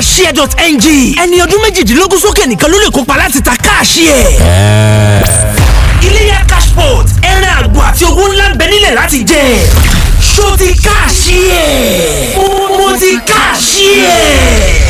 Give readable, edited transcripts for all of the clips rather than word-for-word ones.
cashier.ng. Ẹni ọdún 18 sókè nìkan ló lè kópa láti ta Cashier. Iléyá Cashport, ẹran àgbò àti owó ńlá ń bẹ nílẹ̀ láti jẹ. Ṣó ti Cashier? Mo ti Cashier.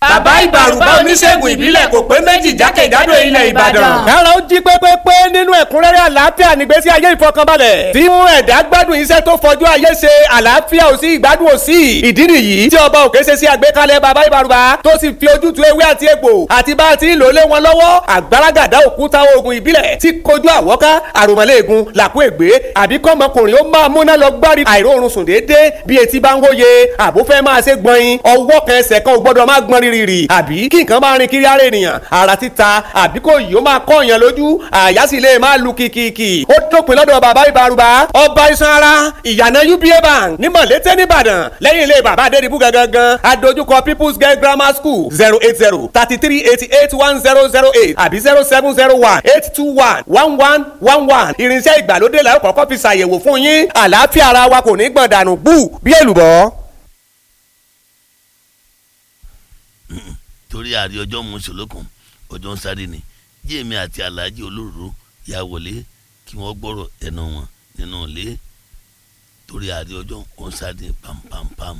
Bàbá Ìbàrùbá, oníṣègùn ìbílẹ̀ kò pé méjì jákèjádò ilẹ̀ Ìbàdàn. Kára ó jí pépépé nínú ẹ̀kúnrẹ́rẹ́ àlàáfíà nígbésí ayé ìfọkànbalẹ̀. Tí mú ẹ̀dá gbádùn iṣẹ́ tó fọjú ayé ṣe, àlàáfíà ò sí, ìgbádùn ò sí. Ìdí nìyí tí ọba òkè ṣe sí àgbékalẹ̀ bàbá Ìbàrùbá tó sì fi ojútùú ewé àti egbò àti bá a ti ń lò lé wọn lọ́wọ́. Àgbàràgàdá òkúta oògùn ìbílẹ̀ tí kojú àwọ́ká, àròmọ̀lẹ́ẹ̀gùn, làkú ègbé, àbí kọ́mọkùnrin ó máa múná lọ gbárí àìróorun sùn déédéé bí etí bá ń wóye, àbúfẹ́ máa ṣe gbọ̀nyin, ọwọ́ kan ẹsẹ̀ kan ò gbọ́dọ̀ má gbọ́n rírì, àbí kí nǹkan máa rin kiri ara ènìyàn, ara títa, àbí kò yìí ó máa kọ́ èèyàn lójú, àyà sì lè máa lu kìkìkì. Ó dópin lọ́dọ̀ bàbá Ìbàrùbá, ọba iṣan ara, ìyànà UBA Bank ní Mọ̀lété nìbàdàn, lẹ́yìn ilé bàbá Adédìbú gangan, adójúkọ People's Girl Grammar School. 08033881008 àbí 07018211111. Irinṣẹ́ ìgbàlódé la ó kọ́kọ́ fi ṣàyẹ̀wò fún yín. Àlàáfíà ara wa kò ní gbọ̀n dànù gbù bí èlùbọ́. Torí àrí ọjọ́ mùsùlùkùn, ọjọ́ ń sáré ni. Jíèmí àti Alhaji Olóró ya wọlé kí wọ́n gbọ́rọ̀ ẹnu wọn nínú ilé, torí àrí ọjọ́ ń sáré pampampam.